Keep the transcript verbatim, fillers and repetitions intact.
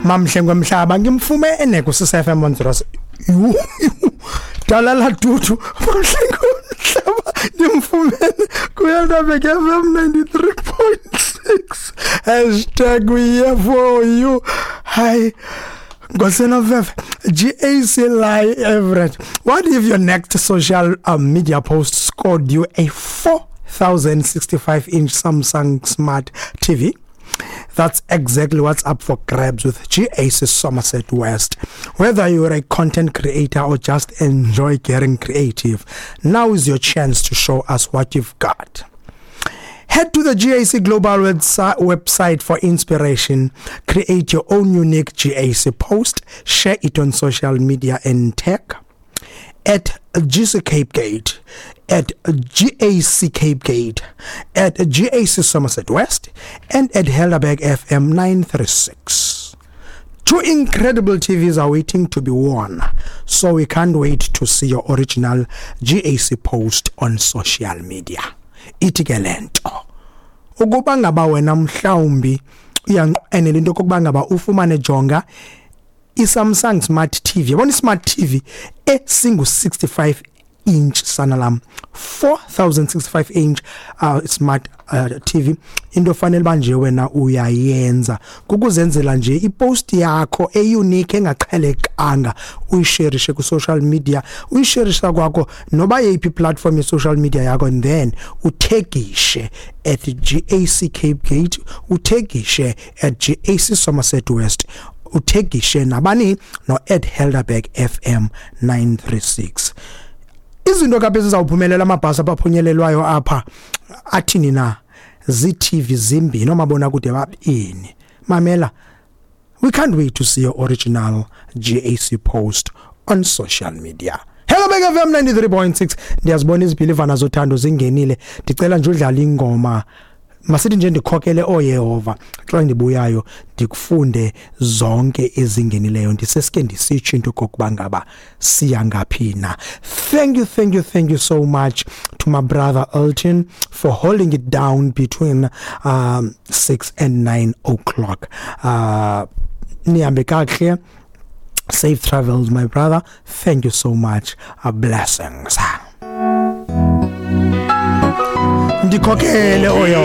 Mamhlengi wemhlaba ngimfumene ku-Sisa F M one zero six. Dalala dudu mamhlengi wemhlaba ngimfumene ku-Helderberg F M ninety-three point six. Hashtag we here for you. Hi. Ngosenofefe, G A C Lie Everett. What if your next social uh, media post scored you a four thousand sixty-five inch Samsung Smart T V? That's exactly what's up for grabs with G A C Somerset West. Whether you're a content creator or just enjoy getting creative, now is your chance to show us what you've got. Head to the G A C Global websi-, website for inspiration. Create your own unique G A C post. Share it on social media and tag at G C Cape Gate, at G A C Cape Gate, at G A C Somerset West, and at Helderberg F M nine three six. Two incredible T Vs are waiting to be won, so we can't wait to see your original G A C post on social media. Ithi ke le nto, ukuba ngaba wena mhlawumbi uyanqwenela into yokokuba ngaba ufumane jonga iSamsung Smart T V. Yabona iSmart T V esingu sixty-five inch sana lam, four thousand sixty-five inch, uh, smart, uh, T V. Into fanele ba nje wena uyayenza kukuzenzela nje ipost yakho eunique engaqhelekanga, uyisherishe ku social media, uyisherisha kwakho noba yeyiphi platform ye social media yakho, and then uthegishe at G A C Cape Gate, uthegishe at G A C Somerset West, uthegishe nabani no at Helderberg F M nine three six. Izinto kapha ezizawuphumelela amabhasi abaphunyelelwayo apha athini na? Zii-T V zimbini oomabonakude babini. Mamela, we can't wait to see your original G A C post on social media. Helderberg F M ninety-three point six. Ndiyazibona izibhilivana zothando zingenile. Ndicela nje udlale ingoma. Masithi nje ndikhokele oYehova. Xa ndibuyayo ndikufunde zonke ezingenileyo. Ndiseske ndisitsho into okokuba ngaba siya ngaphi na. Thank you, thank you, thank you so much to my brother Elton for holding it down between, um, six and nine o'clock. Uh, nihambe kakuhle. Safe travels, my brother. Thank you so much. Uh, blessings. Ndikhokele oYehova.